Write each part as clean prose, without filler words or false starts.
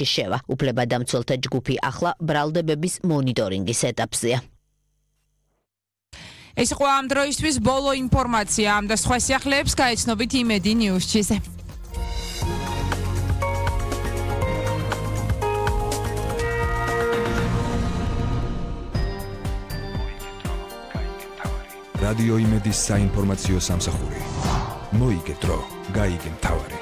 შევა. უფლებადამცველთა ჯგუფი ახლა ბრალდებების მონიტორინგის ეტაპზეა. ეს იყო ამ დროისთვის ბოლო ინფორმაცია ამ და სხვა სიახლეებს გაეცნობით იმედი ნიუსჩიზე. რადიო იმედის საინფორმაციო სამსახური. მოიგეთრო, გაიგე მთავარი.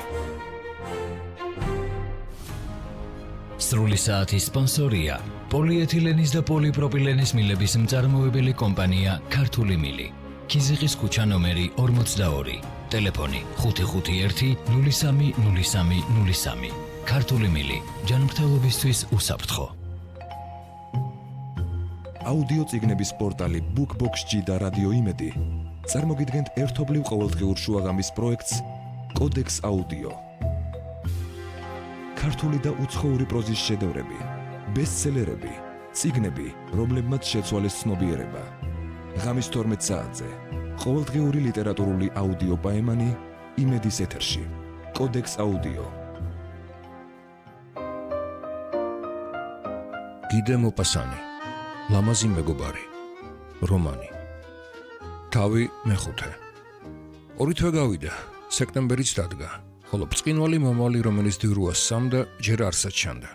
სრული საათის სპონსორია პოლიეთილენის და პოლიპროპილენის მილების მწარმოებელი კომპანია ქართული მილი. ქიზიყის ქუჩა ნომერი 42. ტელეფონი 551 030303. ქართული მილი ჯანმრთელობისთვის უსაფრთხო. აუდიო წიგნების პორტალი BookBox-ში და რადიო იმედი წარმოგიდგენთ ერთობლივ ყოველდღიურ შუაღამის პროექტს კოდექს აუდიო. ქართული და უცხოური პროზის შედევრები, ბესტსელერები, წიგნები, რომლებმაც შეცვალეს ცნობიერება. ღამის 12 საათზე ყოველდღიური ლიტერატურული აუდიო პაემანი იმედის ეთერში. კოდექს აუდიო. გიდე მოპასანი, ლამაზი მეგობარი, რომანი. თავი მეხუთე. ორი თვე გავიდა, სექტემბერიც დადგა. ხოლო ბრწყინვალე მომავალი, რომელიც დიურუას სამდა, ჯერ არსად ჩანდა.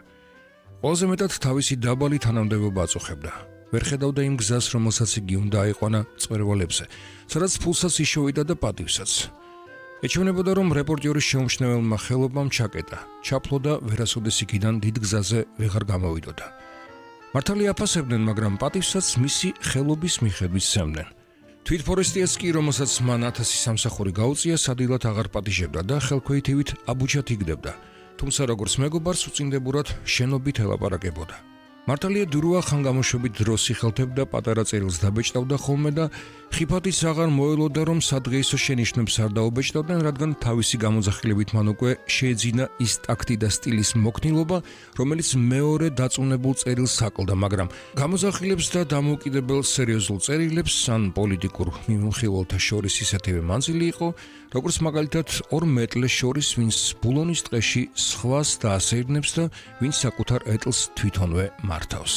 ყველაზე მეტად თავისი დაბალი თანამდებობა აწუხებდა. ვერ ხედავდა იმ გზას, რომელსაც იგი უნდა აიყვანა მწვერვალებზე, სადაც ფულსაც იშოვიდა და პატივსაც. ეჩვენებოდა, რომ რეპორტიორის შეუმჩნეველმა ხელობამ ჩაკეტა, ჩაფლო და ვერასოდეს იქიდან დიდ გზაზე ვეღარ გამოვიდოდა. მართალი აფასებდნენ, მაგრამ პატივსაც მისი ხელობის მიხედვით სცემდნენ. თვით ფორესტიას კი, რომელსაც მან 1000 სამსახური გაუწია, სადილად აღარ პატიჟებდა და ხელქვეითივით აბუჩად იგდებდა, თუმცა როგორც მეგობარს უწინდებურად შენობით ელაპარაკებოდა. მართალია დურუა ხანგამოშვებით დროს იხელთებდა, პატარა წერილს დაბეჭდავდა ხოლმე და ხიფათიც აღარ მოელოდა, რომ სადღეისო შენიშვნებს არ დაუბეჭდავდნენ, რადგან თავისი გამოძახილებით მან უკვე შეეძინა ის ტაქტი და სტილის მოქნილობა, რომელიც მეორე დაწუნებულ წერილს აკლდა, მაგრამ გამოძახილებს და დამოუკიდებელ სერიოზულ წერილებს ან პოლიტიკურ მიმოხილველთა შორის ისეთივე მანძილი იყო, როგორც მაგალითად ორ მეტლეს შორის, ვინც ბულონის ტყეში სხვას დაასეირნებს და ვინც საკუთარ ეტლს თვითონვე მართავს.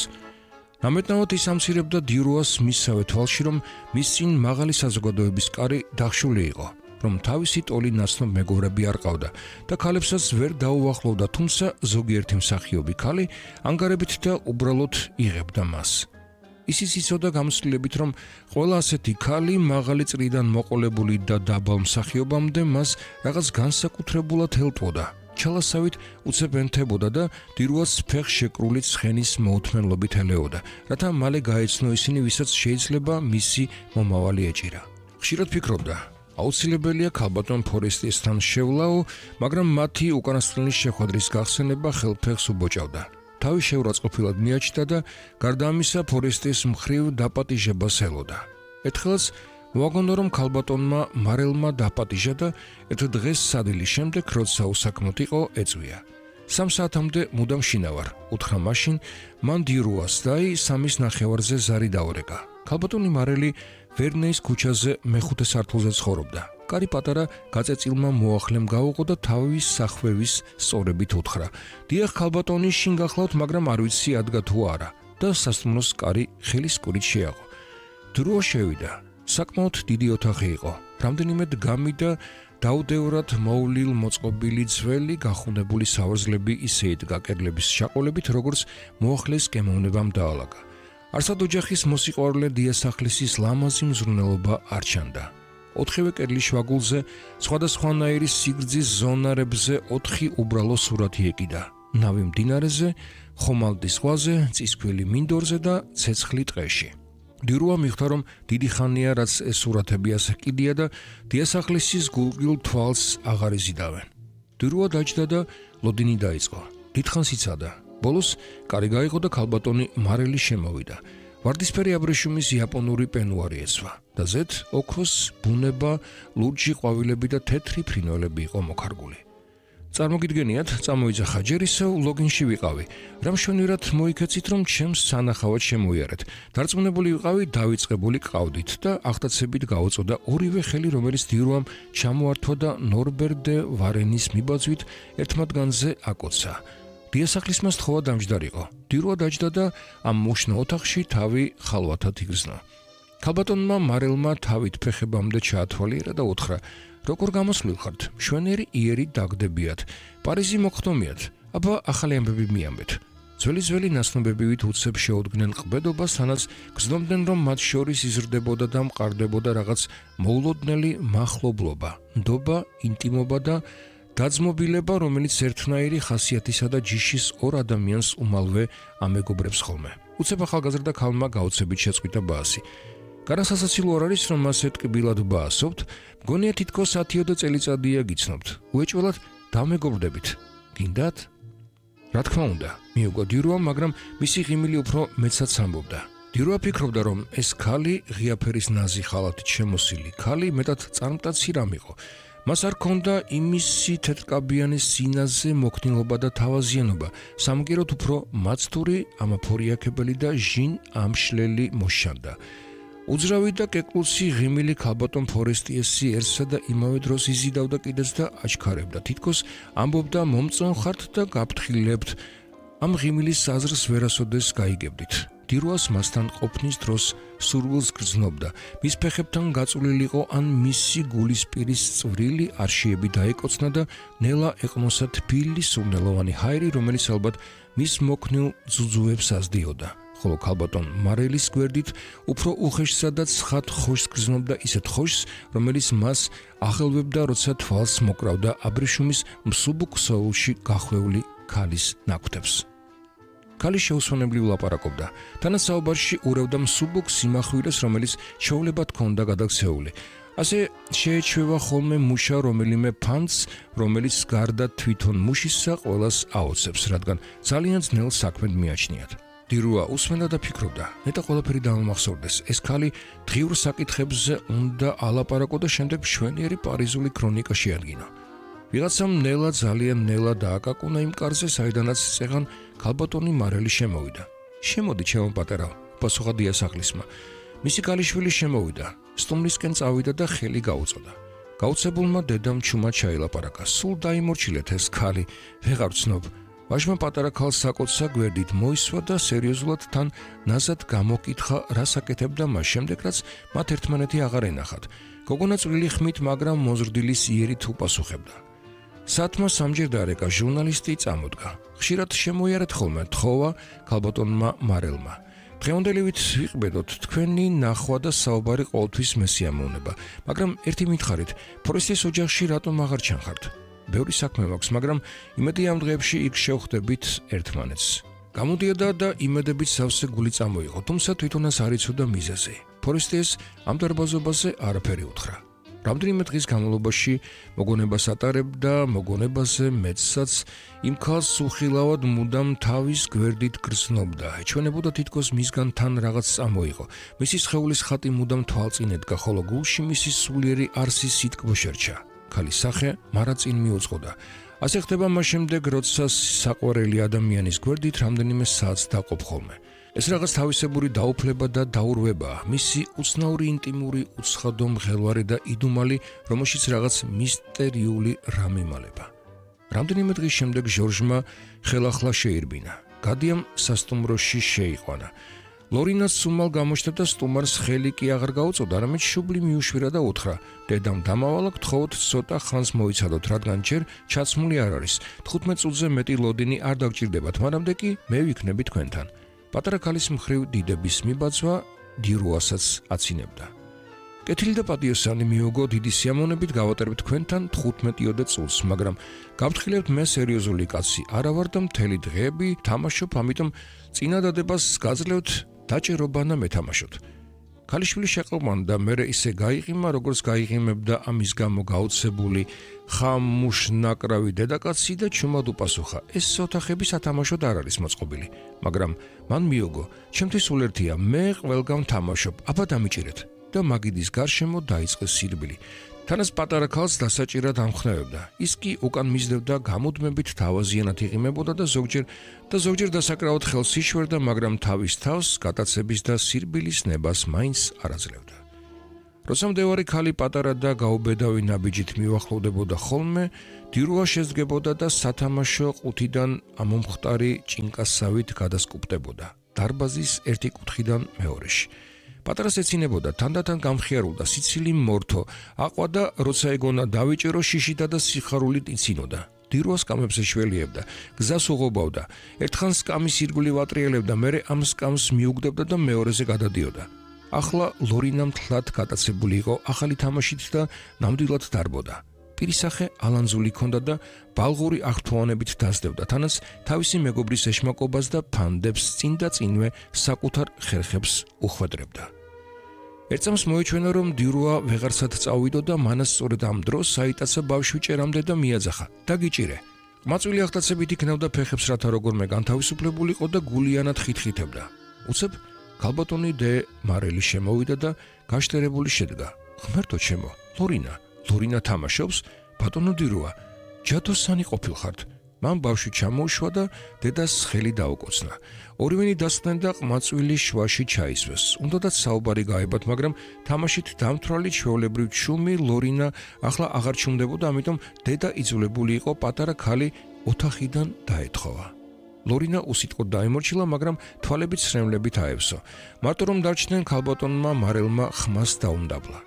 ამეტნავად ის ამცირებდა დიურუას მისსავე თვალში, რომ მის წინ მაღალი საზოგადოების კარი დახშული იყო, რომ თავისი ტოლი ნაცნობ მეგობრები არ ყავდა და ქალებსაც ვერ დაუახლოვდა, თუმცა ზოგიერთი მსახიობი ქალი ანგარებით და უბრალოდ იღებდა მას. ისიც იცოდა გამოსვლებით, რომ ყველა ასეთი ქალი მაღალი წრიდან მოყოლებული და დაბალ მსახიობამდე მას რაღაც განსაკუთრებულად ელტვოდა. ჩალასავით უცებ ენთებოდა და დიურუას ფეხს შეკრული ცხენის მოუთმენლობით ელეოდა, რათა მალე გაეცნო ისინი, ვისაც შეიძლება მისი მომავალი ეჭირა. ხშირად ფიქრობდა, აუცილებელია ქალბატონ ფორესტიესთან შევლაო, მაგრამ მათი უკანასკნელი შეხვედრის გახსენება ხელფეხს უბოჭავდა. თავი შეურაცხყოფილად მიაჩნდა და გარდა ამისა ფორესტიეს მხრივ დაპატიჟებას ელოდა. ერთხელაც მოაგონდა, რომ ქალბატონმა მარელმა დაპატიჟა და ერთ დღეს სადილის შემდეგ, როცა უსაქმოდ იყო, ეწვია. 3 საათამდე მუდამ შინავარ, უთხრა მაშინ, მან დიურუას და 3:30-ზე ზარი დაურეკა. ქალბატონი მარელი ვერნეის ქუჩაზე მეხუთე სართულზე ცხოვრობდა. კარი პატარა გაწეწილმა მოახლემ გაუღო და თავის სახვევის სწორებით უთხრა: დიახ, ქალბატონი, შინ გახლავთ, მაგრამ არ ვიცი ადგა თუ არა და სასტუმროს კარი ხელის კურით შეაღო. დიურუა შევიდა. საკმაოდ დიდი ოთახი იყო. რამდენიმე დგამი და დაუდევრად მოვლილ მოწყობილი ძველი გახუნებული სავარძლები ისე იდგა კედლების შაყოლებით, როგორც მოახლეს გემოვნებამ დაალაგა. არსად ოჯახის მოსიყვარულე დიასახლისის ლამაზი მზრუნველობა არ ჩანდა. 4-ვე კედლის შვაგულზე სხვადასხვანაირი სიგრძის ზონარებზე 4 უბრალო სურათი ეკიდა. ნავი მდინარეზე, ხომალდის ზღვაზე, წისქვილი მინდორზე და ცეცხლი ტყეში. დიურუა მიხვდა, რომ დიდი ხანია, რაც ეს სურათები ასე კიდია და დიასახლისის გულგრილ თვალს აღარ იზიდავენ. დიურუა დაჯდა და ლოდინი დაიწყო. დიდხანს იცადა. ბოლოს კარი გაიღო და ქალბატონი მარელი შემოვიდა. ვარდისფერი აბრეშუმის იაპონური პენუარი ეცვა და ზედ ოქროს ბუნება, ლურჯი ყვავილები და თეთრი ფრინველები იყო მოქარგული. წარმოგიდგენიათ, წამოიძახა ჯერ ისევ ლოგინში ვიყავი. რამშვენივრად მოიქეცით, რომ ჩემს სანახავად შემოიარეთ. დარწმუნებული ვიყავი, დავიწყებული ყავდით და აღტაცებით გაუწოდა ორივე ხელი, რომელიც დიურუამ ჩამოართვა და ნორბერ დე ვარენის მიბაძვით ერთ მათგანზე აკოცა. დიასახლისმა სთხოვა დამჯდარიყო. დირვა დაჯდა და ამ მუშნო ოთახში თავი ხალვათად იგრძნო. ქალბატონმა მარელმა თავით ფეხებამდე ჩაათვალიერა და უთხრა: როგორ გამოსვლილ ხართ? მშვენიერი იერი დაგდებიათ. პარიზი მოგხდომიათ. აბა ახალი ამბები მიამბეთ. ძველი ნაცნობებივით უცებ შეუდგნენ ყბედობას, თანაც გრძნობდნენ, რომ მათ შორის იზრდებოდა და მყარდებოდა რაღაც მოულოდნელი მახლობლობა, ნდობა, ინტიმობა და დაძმობილება, რომელიც ერთნაირი ხასიათისა და ჯიშის ორ ადამიანს უმალვე ამეგობრებს ხოლმე. უცებ ახალგაზრდა ქალმა გაუცებით შეწყვიტა ბაასი. განსასაცილო არ არის, რომ მას ეტკბილად ბაასობთ, მგონია თითქოს 10 წელიწადია გიცნობთ. უეჭველად დამეგობრდებით. გინდათ? რა თქმა უნდა, მიუგო დირუამ, მაგრამ მისი ღიმილი უფრო მეცაც ამბობდა. დირუა ფიქრობდა, რომ ეს ქალი ღია ფერის ნაზი ხალათით შემოსილი ქალი მეტად წარმტაცი რამ იყო. მას არ ჰქონდა იმისი თეთრკაბიანი სინაზე მოქნილობა და თავაზიანობა, სამგეროდ უფრო მაცთური, ამაფორიაქებელი და ჟინ ამშლელი მოშანდა. უძრავი და კეკლუცი ღიმილი ქალბატონ ფორესტიესი ერთსა და იმავე დროს იზიდავდა კიდეც და აჩქარებდა. თითქოს ამბობდა, მომწონ ხართ და გაფრთხილებთ. ამ ღიმილის აზრს ვერასოდეს გაიგებდით. დირუას მასთან ყოფნის დროს სურვილს გრძნობდა. მის ფეხებთან გაწულილიყო ან მისი გულისპირის წვრილი არშიები დაეკოცნა და ნელა ეყნოსა თბილი სურნელოვანი ჰაერი, რომელიც ალბათ მის მოქნილ ძუძუებს ასდიოდა. ხოლო ქალბატონ მარელის გვერდით უფრო უხეშსა და ცხად ხოშს გრძნობდა, ისეთ ხოშს, რომელიც მას აღელვებდა, როცა თვალს მოკრავდა აბრეშუმის მსუბუქ სოულში გახვეული ქალის ნაკვთებს. ქალი შეუსვენებლივ ლაპარაკობდა. თანაც საუბარში ურევდა მსუბუქ სიმახვილეს, რომელიც ჩვეულებად ჰქონდა გადაქცეული. ასე შეეჩვევა ხოლმე მუშა რომელიმე ფანტს, რომელიც გარდა თვითონ მუშისა ყველას აოცებს, რადგან ძალიან ძნელ საქმედ მიაჩნიათ. დირუა უსმენდა და ფიქრობდა, ნეტა ყველაფერი დამამახსოვრდეს. ეს ქალი დღიურ საკითხებზე უნდა ალაპარაკო და შემდეგ მშვენიერი პარიზული ქრონიკა შეადგინა. ვიღაცამ ნელა ძალიან ნელა დააკაკუნა იმ კარზე, საიდანაც წეღან ქალბატონი მარელი შემოვიდა. შემოდი, ჩემო პატარაო, პასუხა დიასახლისმა. მისი ქალიშვილი შემოვიდა, სტუმრისკენ წავიდა და ხელი გაუწოდა. გაუცებულმა დედამ ჩუმად ჩაილაპარაკა. სულ დაიმორჩილეთ ეს ქალი, ვეღარ ვცნობ. ვაჟმა პატარა ქალს საკოცსა გვერდით მოისვა და სერიოზულად თან ნაზად გამოკითხა, რა საკეთებდა მას შემდეგ, რაც მათ ერთმანეთი აღარ ენახათ. გოგონა წვრილი ხმით, მაგრამ მოზრდილის იერი თუ პასუხებდა. საათმა სამჯერ დაარეკა, ჟურნალისტი წამოდგა. ხშირად შემოიარეთ ხოლმე, თხოვა ქალბატონმა მარელმა. დღევანდელივით ვიყბედოთ, თქვენი ნახვა და საუბარი ყოველთვის მესიამოვნება, მაგრამ ერთი მითხარით, ფორესტის ოჯახში რატომ აღარ ჩანხართ? ბევრი საქმე მაქვს, მაგრამ იმედი ამ დღეებში იქ შევხვდებით ერთმანეთს. გამოდიოდა და იმედებით სავსე გული წამოიღო, თუმცა თვითონაც არ იცოდა მიზეზი. ფორესტიეს ამ დარბაზობაზე არაფერი უთხრა. რამდენიმე დღის განმავლობაში მოგონებას ატარებდა, მოგონებაზე მეცსაც იმ ქალს უხილავად მუდამ თავის გვერდით გრძნობდა. ეჩვენებოდა თითქოს მისგან თან რაღაც წამოიღო. მისი სხეულის ხატი მუდამ თვალწინ ედგა, ხოლო გულში მისი სულიერი არსის სიტკბო შერჩა. ქალის სახე მარა წინ მიუძღოდა. ასე ხდება მას შემდეგ, როცა საყვარელი ადამიანის გვერდით რამდენიმე საათს დაყოფ ხოლმე. ეს რაღაც თავისებური დაუფლება და დაურვებაა, მისი უცნაური ინტიმური, უცხადო მღელვარე და იდუმალი, რომელშიც რაღაც მისტერიული რამ იმალება. რამდენიმე დღის შემდეგ ჟორჟმა ხელახლა შეირბინა. გადიამ სასტუმროში შეიყვანა. ლორინას სუმალ გამოჩნდა და სტუმარს ხელი კი აღარ გაუწოდა, არამედ შუბლი მიუშვირა და უთხრა: დედამ დამავალა, გთხოვოთ ცოტა ხანს მოიცადოთ, რადგან ჯერ ჩაცმული არ არის. 15 წუთზე მეტი ლოდინი არ დაგჭირდებათ, მანამდე კი მე ვიქნები თქვენთან. პატარა ქალის მხრივ დიდების მიბაძვა დირუასაც აცინებდა. კეთილი და პატიოსანი მიუგო, დიდი სიამოვნებით გავატარებ თქვენთან 15 წუთს, მაგრამ გავფრთხილებთ, მე სერიოზული კაცი არა ვარ და მთელი დღეები თამაშობ, ამიტომ წინადადებას გაძლევთ დაჭერობა და მეთამაშოთ. ქალიშვილი შეყრმანდა, მერე ისე გაიღიმა, როგორც გაიღიმებდა ამის გამო გაუცებული ხამუშნაკრავი დედაკაცი და ჩუმად უპასუხა: ეს ოთახები სათამაშოდ არ არის მოწყობილი, მაგრამ მან მიუგო, ჩემთვის სულერთია, მე ყველგან თამაშობ, აბა დამიჭირეთ. და მაგიდის გარშემო დაიწყეს სირბილი. თანაც პატარა ქალს დასაჭირად ამხნევებდა. ის კი უკან მისდევდა, გამუდმებით თავაზიანად იღიმებოდა და ზოგჯერ დასაკრავად ხელს იშვერდა, მაგრამ თავის თავს გატაცების და სირბილის ნებას მაინც არ აძლევდა. როცა მდევარი ქალი პატარა და გაუბედავი ნაბიჯით მივახლოვდებოდა ხოლმე, დირუა შეძგებოდა და სათამაშო ყუთიდან ამომხტარი ჭინკასავით გადასკუპტებოდა დარბაზის ერთი კუთხიდან მეორეში. პატარას ეცინებოდა თანდათან გამხიარულდა სიცილი მორთო, აყვა და როცა ეგონა დავიჭერო შიშითა და სიხარულით იცინოდა. დირუა სკამებს ეშველიებდა, გზას უღობავდა, ერთხან სკამის ირგვლივ ატრიელებდა, მერე ამ სკამს მიუგდებდა და მეორეზე გადადიოდა. ახლა ლორინა მთლად გატაცებული იყო ახალი თამაშით და ნამდვილად დარბოდა. პირისახე ალანზული ჰქონდა და ბალღური აღთხოვანებით დასდევდა, თანაც თავისი მეგობრის ეშმაკობას და ფანდებს წინ და წინვე საკუთარ ხერხებს უხვედრებდა. ერთწამს მოეჩვენა, რომ დირუა ვეღარსად წავიდო და მანაც სწორედ ამ დროს საიტაცა ბავშვი ჭერამდე და მიაძახა: „დაგიჭირე!“ ყმაწვილი აღტაცებით იქნევდა ფეხებს, რათა როგორმე განთავისუფლებულიყო და გულიანად ხითხითებდა. უცებ ქალბატონი დე მარელი შემოვიდა და გაშტერებული შედგა. „ღმერთო ჩემო, ლორინა თამაშობს? ბატონო დირუა, ჯადოსანი ყოფილხართ!“ მან ბავშვი ჩამოუშვა და დედას ხელი დაუკოცნა. ორივენი დასხდნენ და ყმაწვილი შვაში ჩაისვეს. უნდათ საუბარი გაებათ, მაგრამ თამაშით დამთვრალი ჩვეულებრივ ჩუმი ლორინა ახლა აღარ ჩუმდებოდა, ამიტომ დედა იძულებული იყო პატარა ქალი ოთახიდან დაეთხოვა. ლორინა უსიტყვოდ დაემორჩილა, მაგრამ თვალებით სრემლებით აევსო. მარტო რომ დარჩნენ, ქალბატონმა მარელმა ხმას დაუმდაბლა.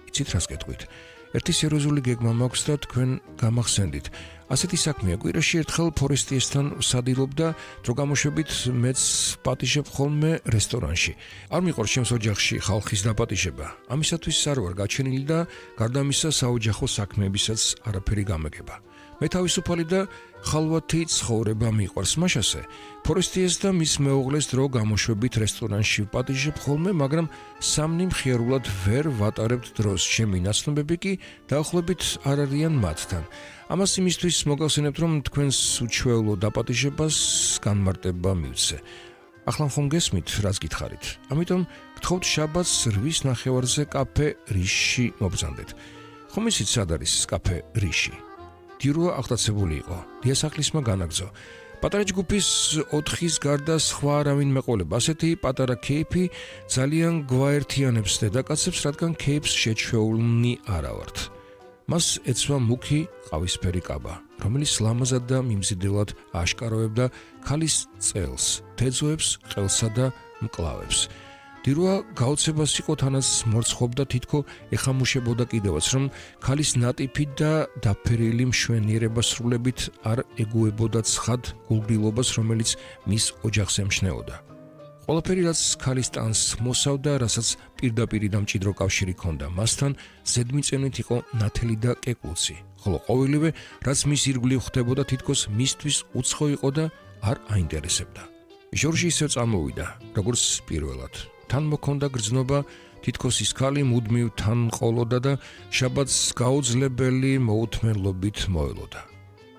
„იცით რას გეტყვით? ერთი სერიოზული გეგმა მაქვს და თქვენ გამახსენდით. ასეთი საქმეა, კვირაში ერთხელ ფორესტიესთან ვსადილობდა, დრო გამოშვებით მეც პატიჟებ ხოლმე რესტორანში. არ მიყვარს ჩემს ოჯახში ხალხის დაპატიჟება. ამისათვის არ ვარ გაჩენილი და გარდა ამისა საოჯახო საქმეებისაც არაფერი გამეგება. მე თავისუფალი და ხალვათი ცხოვრება მიყვარს, მაშასე ფორესტიეს და მის მეუღლეს დრო გამოშვებით რესტორანში ვპატიჟებ ხოლმე, მაგრამ სამნი მხიარულად ვერ ვატარებთ დროს. ჩემი ნაცნობები კი დაახლოებით არ არიან მათთან. ამას იმისთვის მოგახსენებთ, რომ თქვენს უჩვეულო დაპატიჟებას განმარტება მივცე. ახლა ხომ გესმით, რას გითხარით? ამიტომ გთხოვთ შაბათს 8 ნახევარზე კაფე რიში მობრძანდეთ. ხომ იცით სად არის კაფე რიში? დირუა აღტაცებული იყო. დიასახლისმა განაგრძო. პატარა ჯგუფის 4-ის გარდა სხვა არავინ მეყოლება. ასეთი პატარა кейფი ძალიან გვაერთიანებს დედაკაცებს, რადგან кейფს შეჩვეულნი არა ვართ. მას ეცვა მუქი ყავისფერი კაბა, რომელიც ლამაზად და მიმზიდველად აშკარავებდა ქალის წელს, თეძოებს, ყელსა და მკლავებს. დირუა გაოცებას იყო, თანაც მორცხობდა თითქო ეხამუშებოდა კიდევაც, რომ ქალის ნატიფი და დაფერილი მშვენიერება სრულებით არ ეგუებოდა ცხად გულგრილობას, რომელიც მის ოჯახს ემჩნეოდა. ყველაფერი, რაც ქალის ტანს მოსავდა, რასაც პირდაპირი და მჭიდრო კავშირი ჰქონდა მასთან, ზედმიწევნით იყო ნათელი და კეკლუცი, ხოლო ყოველივე, რაც მის ირგვლივ ხდებოდა, თითქოს მისთვის უცხო იყო და არ აინტერესებდა. ჟორჟი ისევ წამოვიდა, როგორც პირველად. თან მოქონდა გრძნობა, თითქოს ის ქალი მუდმივ თან ყოლოდა და შაბათს გაუძლებელი მოუთმენლობით მოელოდა.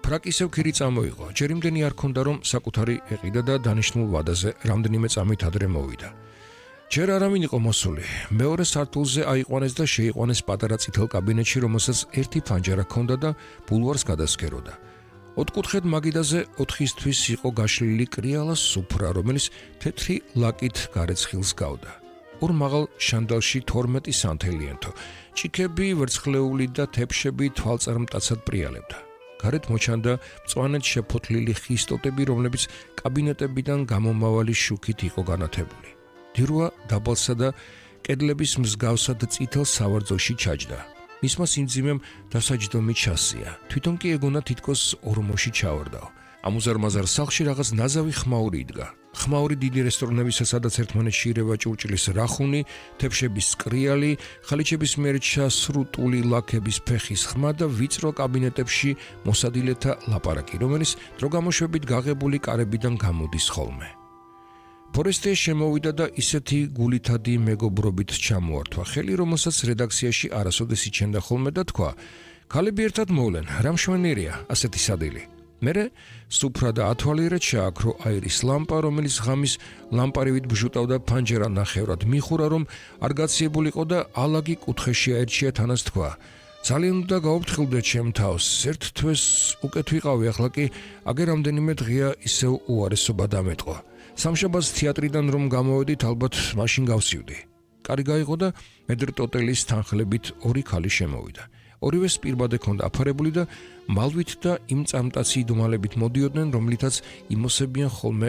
ფრაკი ისევ ქირი წამოიღო, ჯერ იმდენი არ ქონდა, რომ საკუთარი ეყიდა და დანიშნულ ვადაზე რამდენიმე წამით ადრე მოვიდა. ჯერ არავინ იყო მოსული. მეორე სართულზე აიყვანეს და შეიყვანეს პატარა წითელ კაბინეტში, რომელსაც ერთი ფანჯარა ჰქონდა და ბულვარს გადასქეროდა. ოთხკუთხედ მაგიდაზე 4-ისთვის იყო გაშლილი კრიალა სუფრა, რომელიც თეთრი ლაკით გარეცხილს გავდა. ორ მაღალ შანდალში 12 სანთელიენტო, ჭიქები, ვერცხლეული და თეფშები თვალწარმტაცად პრიალებდა. გარეთ მოჩანდა მწვანედ შეფოთლილი ხის ტოტები, რომლებიც კაბინეტებიდან გამომავალი შუქით იყო განათებული. დირუა დაბალსა და კედლების მსგავსად წითელ სავარძოში ჩაჯდა. მისმა სიმძიმემ დასაჯდომი ჩასია. თვითონ კი ეგონა თითქოს ორმოში ჩავარდაო. ამუზარმაზარ სახლში რაღაც ნაზავი ხმაური იდგა. ხმაური დიდი რესტორნებისა, სადაც ერთმანეთში ირევა ჭურჭლის რახუნი, თეფშების კრიალი, ხალიჩების მიერ ჩასრუტული ლაქების ფეხის ხმა და ვიწრო კაბინეტებში მოსადილეთა ლაპარაკი, რომელიც დრო გამოშვებით გაღებული კარებიდან გამოდის ხოლმე. ფორესტია შემოვიდა და ისეთი გულითადი მეგობრობით ჩამოართვა ხელი, რომელსაც რედაქციაში არასოდეს იჩენდა ხოლმე და თქვა: „ქალები ერთად მოვლენ, რა მშვენიერია ასეთი სადილი“. მერე სუფრა და ათვალიერად ჩააქრო აირის ლამპა, რომელიც ღამის ლამპარივით ბჟუტავდა ფანჯარა ნახევრად მიხურა, რომ არ გაციებულიყო და ალაგი კუთხეში აერჩია, თანაც თქვა: „ძალიან უნდა გაუფრთხილდეთ ჩემ თავს, ერთ თვეს უკეთ ვიყავი, ახლა კი აგერ რამდენიმე დღეა ისევ უარესობა დამეტყვა. სამშაბათს თეატრიდან რომ გამოვედით, ალბათ მაშინ გავსივდი“. კარი გაიღო და მედრტოტელის თანხლებით ორი ქალი შემოვიდა. ორივეს პირბადე ჰქონდა აფარებული და მალვით და იმ წამტაცი იდუმალებით მოდიოდნენ, რომლითაც იმოსებიან ხოლმე